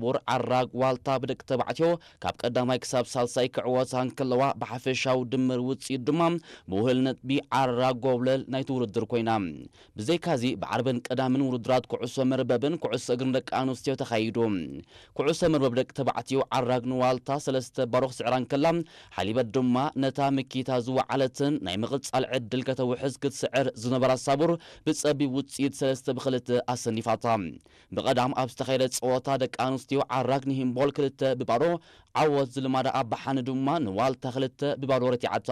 ቡር ዓራግ ዋልታ ብደቂ ተባዕትዮ ካብ ቀዳማይ ክሳብ ሳልሳይ ክዕወታ እንከለዋ፣ ብሓፈሻዊ ድምር ውፅኢት ድማ ብውህል ነጥቢ ዓራግ ጎብለል ናይቲ ውድድር ኮይና። ብዘይካዚ ብዓርብን ቀዳምን ውድድራት ኩዕሶ መርበብን ኩዕሶ እግርን ደቂ ኣንስትዮ ተኻይዱ። ኩዕሶ መርበብ ደቂ ተባዕትዮ ዓራግ ንዋልታ ሰለስተ ባዶ ክስዕራ እንከላ፣ ሓሊበት ድማ ነታ ምኪታ ዝወዓለትን ናይ ምቕጻል ዕድል ከተውሕዝ ክትስዕር ዝነበራ ሳቡር ብጸቢብ ውጽኢት ሰለስተ ብክልተ ኣሰኒፋታ። ብቐዳም ኣብ ዝተኻየደ ጸወታ ደቂ ኣንስትዮ ዓራግ ንሂምቦል ክልተ ብባዶ ዓወት ዝልማዳ ኣባሓኒ ድማ ንዋልታ ክልተ ብባዶ ረቲዓታ።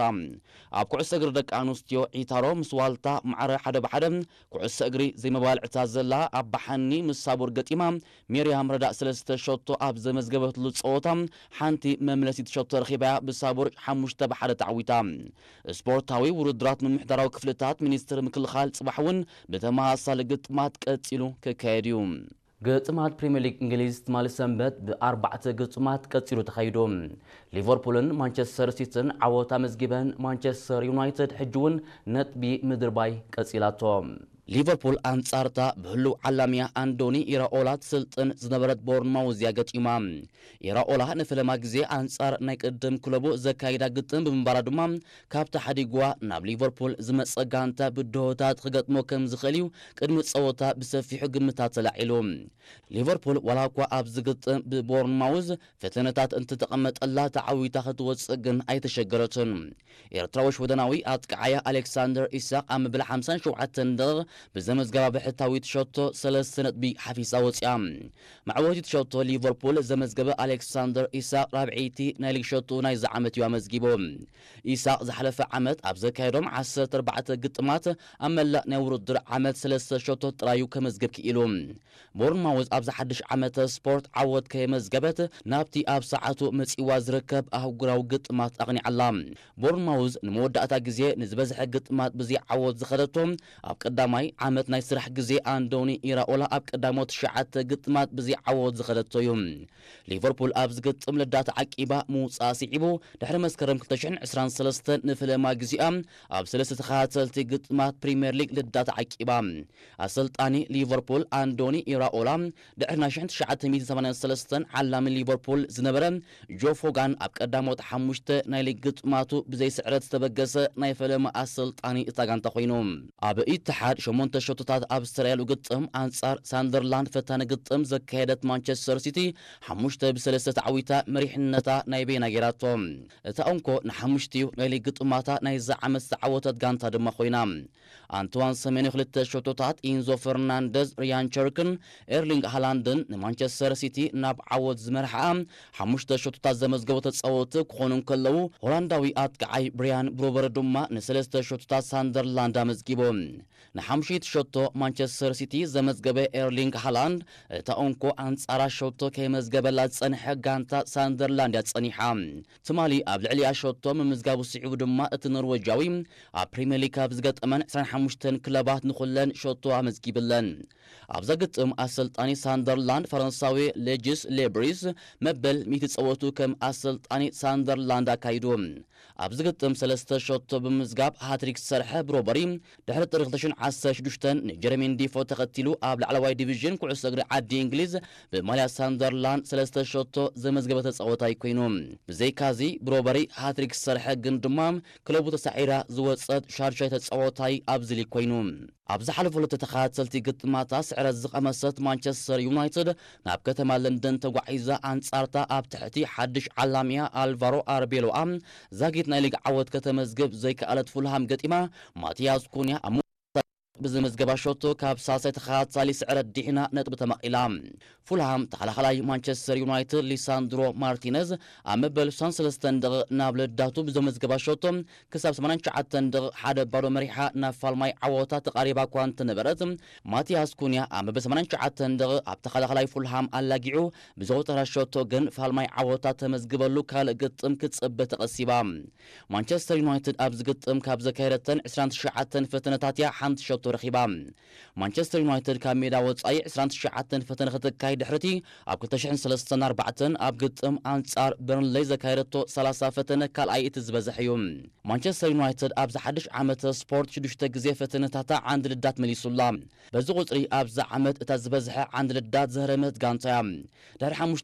ኣብ ኩዕሶ እግሪ ደቂ ኣንስትዮ ዒታሮ ምስ ዋልታ ማዕረ ሓደ ብሓደ ኩዕሶ እግሪ ዘይመባልዕታ ዘላ ኣባሓኒ ምስ ሳቡር ገጢማ። ሜርያም ረዳእ ሰለስተ ሸቶ ኣብ ዘመዝገበትሉ ጸወታ ሓንቲ መምለሲት ሸቶ ረኺባያ ብሳቡር ሓሙሽተ ብሓደ ተዓዊታ። ስፖርታዊ ውድድራት ምምሕዳራዊ ክፍልታት ሚኒስትሪ ምክልኻል ጽባሕ እውን ብተመሳሳሊ ግጥማት ቀጺሉ ክካየድ እዩ። ግጥማት ፕሪምየር ሊግ እንግሊዝ ትማሊ ሰንበት ብኣርባዕተ ግጥማት ቀጺሉ ተኻይዱ። ሊቨርፑልን ማንቸስተር ሲቲን ዓወት ኣመዝጊበን፣ ማንቸስተር ዩናይትድ ሕጂ እውን ነጥቢ ምድርባይ ቀጺላቶ። ሊቨርፑል ኣንጻርታ ብህሉው ዓላምያ ኣንዶኒ ኢራኦላ ትስልጥን ዝነበረት ቦርንማውዝ እያ ገጢማ። ኢራኦላ ንፈለማ ግዜ ኣንጻር ናይ ቅድም ክለቡ ዘካይዳ ግጥም ብምንባራ ድማ ካብታ ሓዲግዋ ናብ ሊቨርፑል ዝመጸ ጋንታ ብድሆታት ክገጥሞ ከም ዝኽእል እዩ ቅድሚ ጸወታ ብሰፊሑ ግምታት ተላዒሉ። ሊቨርፑል ዋላ እኳ ኣብዚ ግጥም ብቦርንማውዝ ፈተነታት እንትተቐመጠላ ተዓዊታ ክትወጽእ ግን ኣይተሸገረትን። ኤርትራዊ ሽወደናዊ ኣጥቃዓያ ኣሌክሳንደር ኢሳቕ ኣብ መበል ሓምሳን ሸውዓተን ደቂቕ ብዘመዝገባ ብሕታዊት ሸቶ ሰለስተ ነጥቢ ሓፊሳ ወጺኣ። መዕወቲት ሸቶ ሊቨርፑል ዘመዝገበ ኣሌክሳንደር ኢሳቕ ራብዐይቲ ናይ ሊግ ሸቶ ናይዚ ዓመት እዩ ኣመዝጊቡ። ኢሳቕ ዝሓለፈ ዓመት ኣብ ዘካየዶም ዓሰርተ ኣርባዕተ ግጥማት ኣብ መላእ ናይ ውድድር ዓመት ሰለስተ ሸቶ ጥራዩ ከመዝግብ ክኢሉ። ቦርንማውዝ ኣብዚ ሓድሽ ዓመተ ስፖርት ዓወት ከየመዝገበት ናብቲ ኣብ ሰዓቱ መጺዋ ዝርከብ ኣህጉራዊ ግጥማት ኣቕኒዓላ። ቦርንማውዝ ንመወዳእታ ግዜ ንዝበዝሐ ግጥማት ብዘይ ዓወት ዝኸደቶ ኣብ ቀዳማይ ዓመት ናይ ስራሕ ግዜ ኣንዶኒ ኢራኦላ ኣብ ቀዳሞት ትሽዓተ ግጥማት ብዘይ ዓወት ዝኸደቶ እዩ። ሊቨርፑል ኣብ ዝግጥም ልዳት ዓቂባ ምውጻእ ስዒቡ ድሕሪ መስከረም ክልተ ሽሕን ዕስራን ሰለስተን ንፈለማ ግዜኣ ኣብ ሰለስተ ተኸታተልቲ ግጥማት ፕሪምየር ሊግ ልዳት ዓቂባ። ኣሰልጣኒ ሊቨርፑል ኣንዶኒ ኢራኦላ ድሕሪ ናይ ሽሕን ትሽዓተ ሚእትን ሰማንያን ሰለስተን ዓላሚ ሊቨርፑል ዝነበረ ጆ ፎጋን ኣብ ቀዳሞት ሓሙሽተ ናይ ሊግ ግጥማቱ ብዘይ ስዕረት ዝተበገሰ ናይ ፈለማ ኣሰልጣኒ እታ ጋንታ ኮይኑ። ኣብ ኢትሓድ ሸሞንተ ሸቶታት ኣብ ዝተረኣየሉ ግጥም ኣንጻር ሳንደርላንድ ፈታኒ ግጥም ዘካየደት ማንቸስተር ሲቲ ሓሙሽተ ብሰለስተ ተዓዊታ መሪሕነታ ናይ በይና ገይራቶ። እታ እንኮ ንሓሙሽቲኡ ናይ ሊግ ግጥማታ ናይዛ ዓመት ዝተዓወተት ጋንታ ድማ ኮይና። ኣንትዋን ሰሜንዮ ክልተ ሸቶታት፣ ኢንዞ ፈርናንደዝ፣ ሪያን ቸርክን ኤርሊንግ ሃላንድን ንማንቸስተር ሲቲ ናብ ዓወት ዝመርሓኣ ሓሙሽተ ሸቶታት ዘመዝገቡ ተጻወትቲ ክኾኑ እንከለዉ፣ ሆላንዳዊ ኣጥቃዓይ ብሪያን ብሮበሪ ድማ ንሰለስተ ሸቶታት ሳንደርላንድ ኣመዝጊቡ። ንሓሙሽይቲ ሸቶ ማንቸስተር ሲቲ ዘመዝገበ ኤርሊንግ ሃላንድ፣ እታ እንኮ ኣንጻራ ሸቶ ከይመዝገበላ ዝጸንሐ ጋንታ ሳንደርላንድ እያ ጸኒሓ። ትማሊ ኣብ ልዕሊኣ ሸቶ ምምዝጋቡ ስዒቡ ድማ እቲ ኖርወጃዊ ኣብ ፕሪምየር ሊግ ካብ ዝገጠመን ዕስራን ሓሙሽተን ክለባት ንኹለን ሸቶ ኣመዝጊብለን። ኣብዛ ግጥም ኣሰልጣኒ ሳንደርላንድ ፈረንሳዊ ሌጅስ ሌብሪስ መበል ሚእቲ ጸወቱ ከም ኣሰልጣኒ ሳንደርላንድ ኣካይዱ። ኣብዚ ግጥም ሰለስተ ሸቶ ብምምዝጋብ ሃትሪክ ዝሰርሐ ብሮበሪ ድሕሪ ጥሪ ክልተ ሽሕን ዓሰርተ ሽዱሽተን ንጀረሚን ዲፎ ተኸቲሉ ኣብ ላዕለዋይ ዲቪዥን ኩዕሶ እግሪ ዓዲ እንግሊዝ ብማልያ ሳንደርላንድ ሰለስተ ሸቶ ዘመዝገበ ተጻወታይ ኮይኑ። ብዘይካዚ ብሮበሪ ሃትሪክ ዝሰርሐ ግን ድማ ክለቡ ተሳዒራ ዝወጸት ሻድሻይ ተጻወታይ ኣብዚ ሊግ ኮይኑ። ኣብ ዝሓለፉ ክልተ ተኸታተልቲ ግጥማታ ስዕረት ዝቐመሰት ማንቸስተር ዩናይትድ ናብ ከተማ ለንደን ተጓዒዛ ኣንጻርታ ኣብ ትሕቲ ሓድሽ ዓላምያ ኣልቫሮ ኣርቤሎኣ ዛጊት ናይ ሊግ ዓወት ከተመዝግብ ዘይከኣለት ፉልሃም ገጢማ ማቲያስ ኩንያ ኣብ ብዘመዝገባ ሸቶ ካብ ሳልሳይ ተኸታታሊ ስዕረት ዲሒና ነጥቢ ተመቒላ። ፉልሃም ተኸላኸላይ ማንቸስተር ዩናይትድ ሊሳንድሮ ማርቲነዝ ኣብ መበል ስሳን ሰለስተን ደቂቕ ናብ ለዳቱ ብዘመዝገባ ሸቶ ክሳብ ሰማንያን ትሽዓተን ደቂቕ ሓደ ባዶ መሪሓ ናብ ፋልማይ ዓወታ ተቓሪባ እኳ እንተነበረት፣ ማቲያስ ኩንያ ኣብ መበል ሰማንያን ትሽዓተን ደቂቕ ኣብ ተኸላኸላይ ፉልሃም ኣላጊዑ ብዘውጠራ ሸቶ ግን ፋልማይ ዓወታ ተመዝግበሉ ካልእ ግጥም ክትጽበ ተቐሲባ። ማንቸስተር ዩናይትድ ኣብዚ ግጥም ካብ ዘካየደተን ዕስራን ትሽዓተን ፈተነታት እያ ሓንቲ ሸቶ ረኺባ። ማንቸስተር ዩናይትድ ካብ ሜዳ ወጻኢ ዕስራን ትሽዓተን ፈተነ ከተካይድ ድሕርቲ ኣብ ክልተ ሽሕን ሰለስተን ኣርባዕተን ኣብ ግጥም ኣንጻር በርንሌይ ዘካየደቶ ሰላሳ ፈተነ ካልኣይ እቲ ዝበዝሐ እዩ። ማንቸስተር ዩናይትድ ኣብዚ ሓድሽ ዓመተ ስፖርት ሽዱሽተ ግዜ ፈተነታታ ዓንዲ ልዳት መሊሱላ። በዚ ቁጽሪ ኣብዚ ዓመት እታ ዝበዝሐ ዓንዲ ልዳት ዘህረመት ጋንታ እያ። ድሕሪ ሓሙሽተ